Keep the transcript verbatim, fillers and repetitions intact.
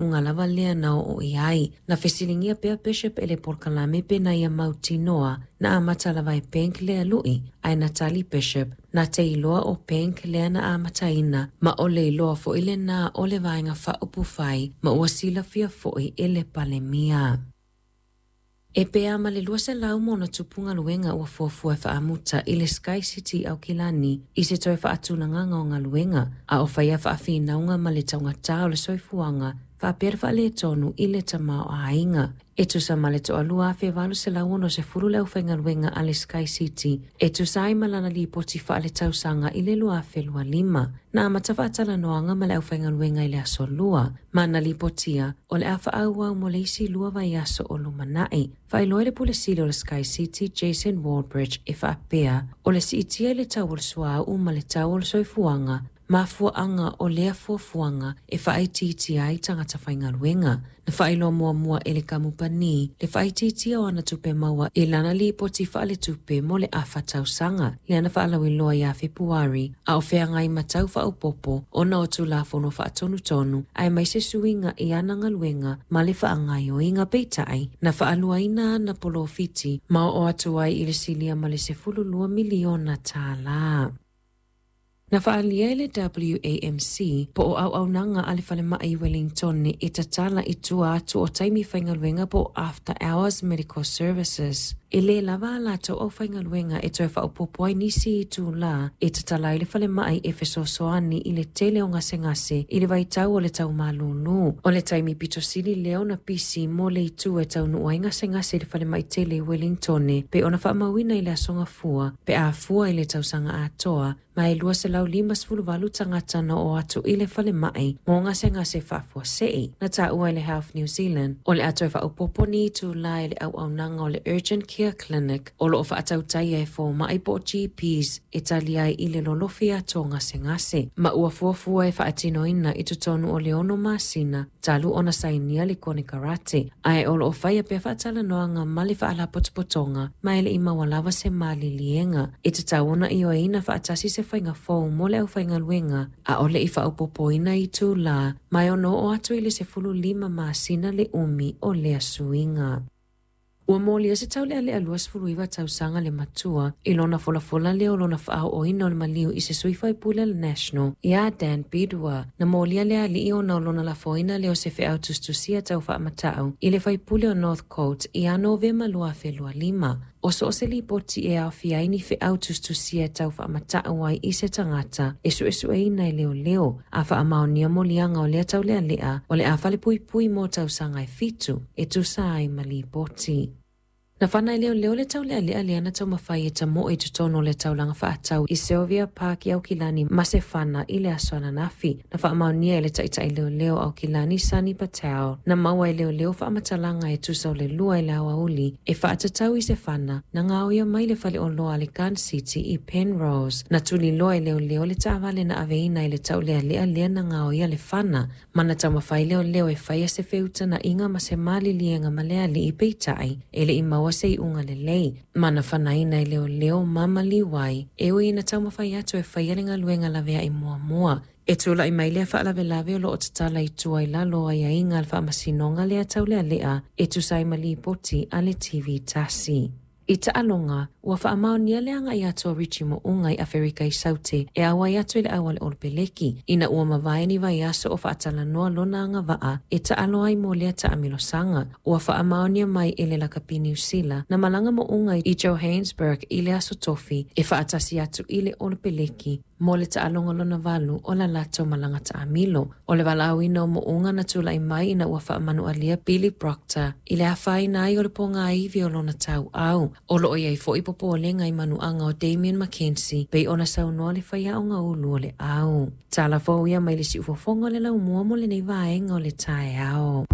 Unga lava lea na o i ai. Na fesiligia pea Bishop e le polokalame pe na ia mautinoa na amata lava e Penk lea lui, ae na tali Bishop, na te iloa o Penk lea na amataina, ma o le iloa fo'i lenā o le Vaega Faaupufai ma ua silafia fo'i e le Palemia. E pea ma le lua selau ma ona tupu galuega ua fuafua e faamuta i le Sky City i Aukilani i se toe faatulagaga o galuega, a o faia faafinauga ma le taugatā o le soifuaga faapea le faaletonu i le tamaoaiga. E tusa ma le toalua afe valu selau ono sefulu le aufaigaluega a le Sky City e tusa ai ma lana lipoti faaletausaga i le lua afe lua lima. Na amata faatalanoaga ma le aufaigaluega i le aso Lua, ma na lipotia o le a faaauau mo le isi lua vaiaso o lumanai. Faailoa e le Pule Sili o le Sky City Jason Wallbridge e faapea, o le siitia i le tau o le suauu ma le tau o le soifuaga, mafuaaga o lea fuafuaga e faaitiitia ai tagata faigaluega. Na faailoa muamua e le kamupani le faaitiitia o ana tupe maua i lana lipoti faaletupe mo le afa tausaga, lea na faalauiloa ia Fepuari, a o feagai ma tau faaopoopo ona o Tulafono faatonutonu aemaise suiga i ana galuega ma le faagaoioiga. Peitai, na faaluaina ana polofiti ma oo atu ai i le silia ma le sefulu lua miliona tālā. Na faaalia e le W A M C po o auaunaga a le falemai i Wellington e tatala i tua atu o taimi faigaluega po o After Hours Medical Services. E lē lava a latou aufaigaluega e toe faaopoopo ai nisi itulā e tatala ai le falemai e fesoasoani i le tele o gasegase i le vaitau o le taumalūlū. O le taimi pito sili lea ona pisi mo le itu e taunuu ai gasegase i le falemai tele i Wellington pe ona faamauina i le aso Gafua pe a fua i le tausaga atoa ma e lua selau lima sefulu valu tagata na oo atu i le falemai mo gasegase faafuasei. Na taua e le Health New Zealand o le a toe faaopoopo ni itulā i le auaunaga o le Urgent Care Clinic o loo faatautaia e fomai po o G Ps e tali ai i le lolofi atu o gasegase ma ua fuafua e faatinoina i totonu o le ono masina talu ona sainia le konekarate, ae o loo faia pea faatalanoaga ma le faalapotopotoga ma e le i maua lava se maliliega. E tatau ona ioeina faatasi se faiga fou mo le aufaigaluega a o le i faaopoopoina itulā ma e ono oo atu i le sefulu lima masina le umi o lea suiga. Ua molia se taulealea lua sefulu iwa tausaga le matua i lona folafola lea o lona faaooina o le maliu i se sui faipule le National ia Dan Bidwa. Na molia le alii ona o lona lafoina lea o se feau tusitusia tau faamatau i le faipule o North Coast ia Novema lua afe lua lima. O so o se lipoti e aofia ai ni feau tusitusia tau faamatau ai i se tagata e suesueina e leoleo a faamaonia moliaga o lea taulealea o le a falepuipui mo tausaga e fitu e tusa ai ma lipoti. Na fana i leoleo le taulealea lea na taumafai e tamoe i totonu o le taulaga faatau i Sylvia Park i Aukilani ma se fana i le aso ananafi. Na faamaonia e le taitai leoleo Aukilani Sani Patel. Na maua e leoleo faamatalaga e tusa o le lua i le aoauli e faatatau i se fana na gaoia mai le faleoloa a le Gun City i Penrose. Na tuliloa e leoleo le taavale na aveina i le taulealea lea na gaoia le fana ma na taumafai leoleo e faia se feutana'iga ma se maliliega ma le alii peitai e le i maua se iuga lelei. Ma na fanaina e leoleo ma maliu ai e ui ina taumafai atu e faia le galuega laveai muamua. E tula'i mai lea faalavelave o loo tatala i tua i lalo o aiaiga a le faamasinoga lea taulealea e tusa ai ma lipoti a le T V tasi. I taaloga, ua faamaonia le aga'i atu o Richie Mo'unga i Aferika i Saute e auai atu i le au a le Olopeleki, ina ua mavae ni vaiaso o faatalanoa lona agavaa e taalo ai mo lea taamilosaga. Ua faamaonia mai e le lakapi Niu Sila na malaga Mo'unga i Johannesburg i le aso Tofi e faatasi atu i le Olopeleki mo le taaloga lona valu o la latou malaga taamilo. O le valaauina o Mo'unga na tula'i mai ina ua faamanualia Billy Proctor i le afaina ai o le pogāivi o lona tauau. O loo iai fo'i popolega i manuaga o Damien McKenzie pei ona saunoa le faiaoga ulu o le au. Tala fou ia mai le siufofoga o le laumua mo lenei vaega o le taeao.